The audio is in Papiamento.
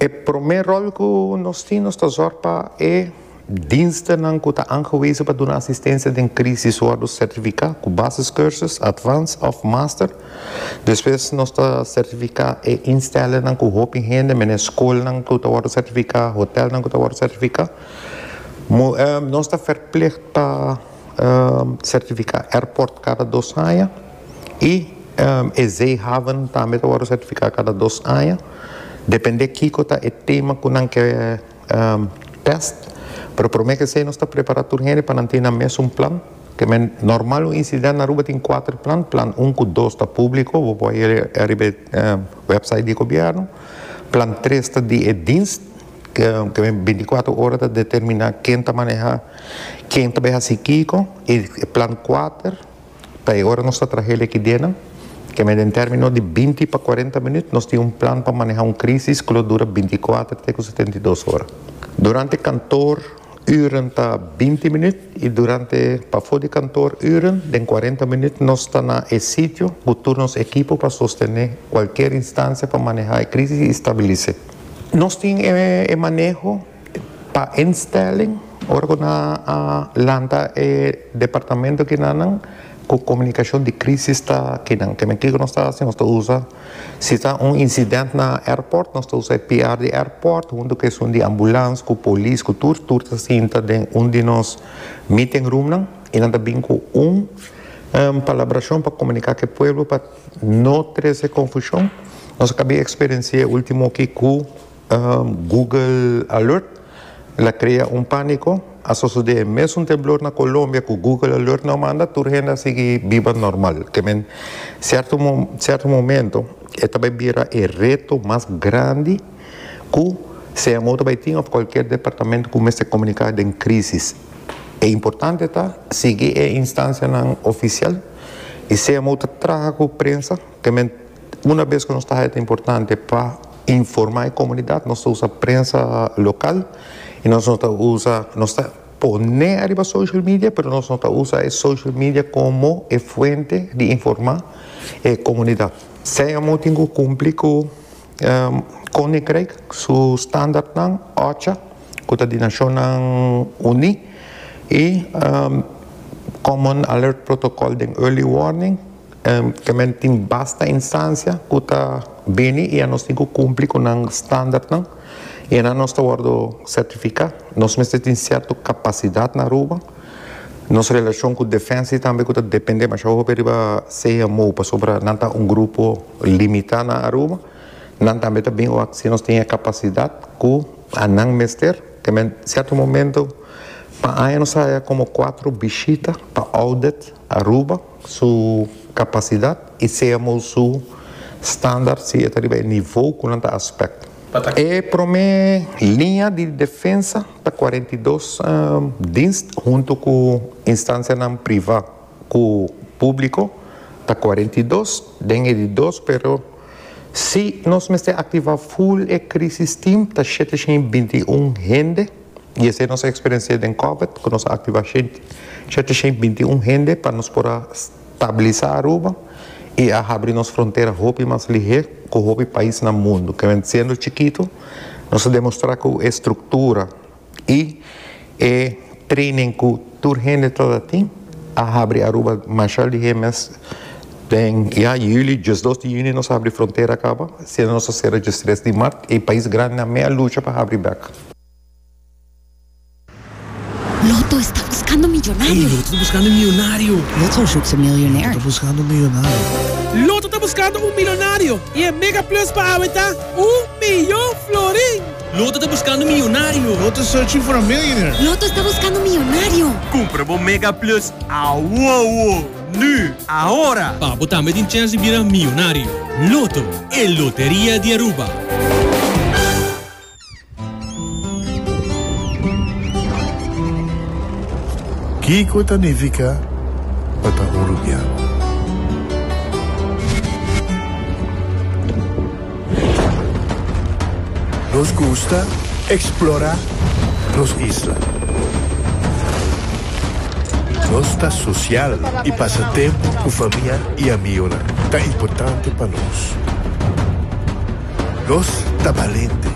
E promé ròl ku nos tin, nos ta zòrg pa e dienstennan ku ta aangewezen pa duna asistensia den krísis wòrdu sertifiká ku basiscursus, advance òf master. Despues nos ta sertifiká e instellingnan ku hopi hende, mene skolnan ku ta wòrdu sertifiká, hotelnan ku ta wòrdu sertifiká. Nos ta verplicht pa sertifiká airport kada dos aña i e zeehaven tambe ta wòrdu sertifiká kada dos aña. Dependé kiko ta e tema ku nan ke tèst. Pero promé ke esei nos ta prepará tur hende pa nan tin nan mesun plan. Ke men normal un insidènt na Aruba tin kuater plan, plan un ku dos ta públiko, bo por haña riba e wèpsait di gobièrnu. Plan tres ta di e dienst, ke men bintikuater ora ta determiná ken ta manehá, ken ta bai hasi kiko. I plan kuater ta e ora nos ta traha el ekidenan, ke men den término di binti pa kuarenta minüt nos tin un plan pa manehá un krísis ku lo dura bintikuater te ku 72 ora. Durante kantor uren ta 20 minuut y durante pafó di kantoor uren den 40 minuut nos ta na e sitio ku tur nos ekipo pa sostené kualkier instancia pa manehá e crisis y stabilis'é. Nos tin e maneho pa instelling ora ku nan a lanta e departamento kinanan ku komunikashon di crisis ta kinan. Ke men kiko nos ta hasi? Nos ta usa. Si ta un incident na airport, nos ta usa e PR di airport hunto cu esun di ambulance, cu polis, cu tur. Tur ta sinta den un di nos meeting roomnan y nan ta bin cu un palabracion pa comunica cu e pueblo pa no trece confusion. Nos a caba di experiencia e ultimo aki cu Google Alert la crea un panico. A sosode e mesun temblor na Colombia cu Google Alert no a manda, tur hende a sigui biba normal. Ke men cierto cierto momento e ta bay bira e reto mas grandi cu CMO ta bay tin of cualkier departamento cu mester comunica den crisis. E importante ta sigui e instancianan oficial y CMO ta traha cu prensa. Ke men una bes cu nos ta haya ta importante pa informa e comunidad, nos ta usa prensa local y nos no ta usa, nos ta pone ariba social media, pero nos no ta usa e social media como e fuente di informa e comunidad. CMO tin cu cumpli cu Koninkrijk su standaardnan, OCHA, cu ta di Nacionnan Uni, y Common Alert Protocol den Early Warning. Ke men tin basta instancia ku ta bini i anos tin ku kumpli ku nan standardnan i anan nos ta wòrdu sertifiká. Nos mester tin sierto kapasidat na Aruba. Nos relashon ku Defensie tambe ku ta dependé masha hopi riba CMO pasobra nan ta un grupo limitá na Aruba. Nan tambe ta bin wak si nos tin e kapasidat ku anan mester. Ke men sierto momento pa aña nos a haya komo kuatro bishita pa audit Aruba. Su capacidad y CMO su standard si e ta riba e nivo cu nan ta aspect. E prome liña di defensa ta 42 dienst hunto cu instancianan priva cu publico ta 42 den e di dos pero si nos mester activa full e crisis team ta 721 hende. I esei nos a eksperensiá den Covid, ku nos a aktivá 721 hende pa nos por a stabilisá Aruba i a habri nos frontera hopi mas lihé ku hopi pais na mundu. Ke men siendo chikitu, nos a demostrá ku e struktura i e training ku tur hende tabata tin a habri Aruba masha lihé mes. Den ya yüli, diesdos di yüni nos a habri frontera kaba, siendo nos a sera diestres di mart, e pais grandinan mei a lucha pa habri bèk. Lotto está buscando millonario. Ey, Lotto ta buscando un millonario. Lotto zoekt een miljonair. Lotto ta buscando un millonario. Lotto ta buscando un milonario y e mega plus pa awe ta un miyon florin. Lotto ta buscando un millonario. Lotto is searching for a millionaire. Lotto está buscando un millonario. Cumpra bo mega plus awowo, nu, ahora! Pa bo tambe tin chens di bira miyonario. Lotto, e loteria di Aruba. Kiko ta nifiká pa ta un rubiano? Nos gusta eksplorá nos isla. Nos ta sosial i pasa tempu ku famia i amigonan ta importante pa nos. Nos ta balente.